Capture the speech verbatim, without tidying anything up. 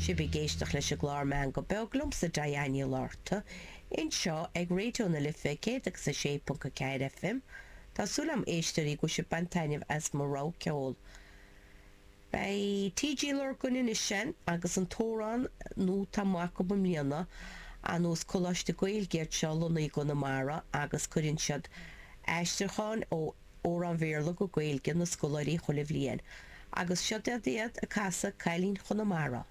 Sibh ag éisteacht leis an gclár Meangadh Beag liomsa Diane Ní Fhlatharta, anseo ag Raidió na Life céad agus a sé ponc a ceathair FM. Tá súil agam a éisteoirí go bhfuil sibh ag baint taitneamh as mo rogha ceoil. Beidh TG Lurgan anois sin agus an t-amhrán nua atá amuigh acu i mbliana ar nós Coláiste Gaeilge iad seo lonnaithe i gConamara agus cuireann siad aistriúcháin ó amhráin Bhéarla go Gaeilge na scoláirí chuile bhliain. Agus seo iad ag casadh Cailín Chonamara.